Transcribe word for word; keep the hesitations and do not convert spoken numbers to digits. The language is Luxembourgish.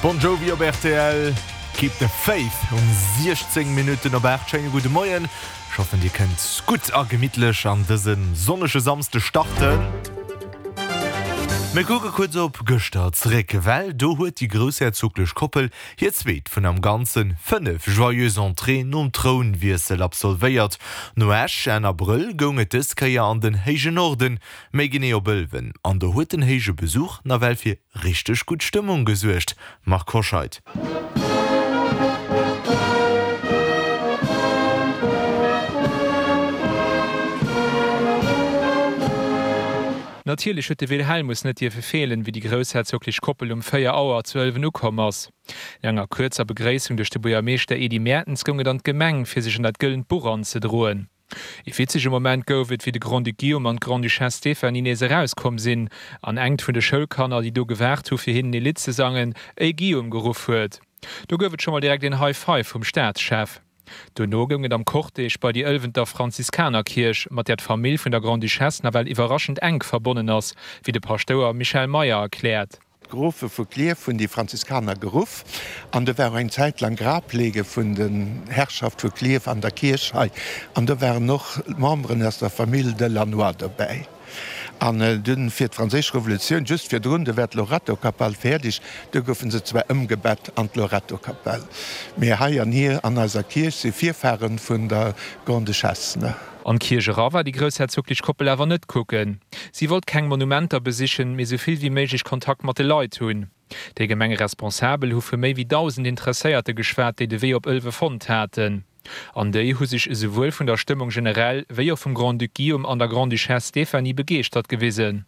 Bon Jovi op rtl, Keep the Faith um siechzéng Minutten op aacht. Schéine gudde Moien. Ech hoffen dir kënnt gutt a gemittlech an dëse sonnege Samsde starten. Mir kucke kuerz op gëschter zeréck, well do huet déi groussherzoglech Koppel hir zweet vun am Ganze fënnef Joyeuse Entrée nom Trounwiessel absolvéiert. No Esch Enn Abrëll goung et dës Kéier an den héije Norden, méi genee op Ëlwen. An do huet den héije Besuch nawell fir richteg gutt Stëmmung gesuergt. Marc Hoscheid. Natierlech huet de Wilhelmus net dierfe feelen, wéi déi groussherzoglech Koppel um véier Auer zu Ëlwen ukomm ass. No enger kuerzer Begréissung duerch de Buergermeeschter Edy Mertens goung et an d'Gemeng, fir sech an dat gëllent Buch anzedroen. Ee witzege Moment gouf et, wéi de Grand-Duc Guillaume an d'Grande-Duchesse Stéphanie nees erauskomm sinn an engt vun de Schoulkanner, déi do gewaart hu fir hinnen ee Lidd ze sangen, Ey Guillaume geruff huet. Do gouf et scho mol direkt een High Five vum Staatschef. Dono goung et am Cortège bei déi Ëlwenter Franziskanerkierch, mat där d'Famill vun der Grande-Duchesse nawell iwwerraschend enk verbonnen ass, wéi de Paschtouer Michel Meyer erkläert. D'Grofe vu Klierf hunn déi Franziskaner geruff an do war och eng Zäit laang Grableege vun der Herrschaft vu Klierf an der Kierch hei an do waren och Memberen aus der Famill de Lannoy dobäi. An dunn fir d'Franséisch Revolutioun, just virdrun, do war d'Lorettokapell fäerdeg, do goufe se zwar ëmgebett an d'Lorettokapell, mee hei an hier an eiser Kierch si Virfahre vun der Grande-Duchesse. An d'Kierch era war déi groussherzoglech Koppel awer net kucken. Si wollt keng Monumenter besichen, mee sou vill wéi méiglech Kontakt mat de Leit hunn. Déi Gemengeresponsabel hu vu méi wéi dausend Interesséierte geschwat, déi de Wee op Ëlwe fonnt haten. An déi hu sech esouwuel vun der Stëmmung generell, wéi och vum Grand-Duc Guillaume an der Grande-Duchesse Stéphanie begeeschtert gewisen.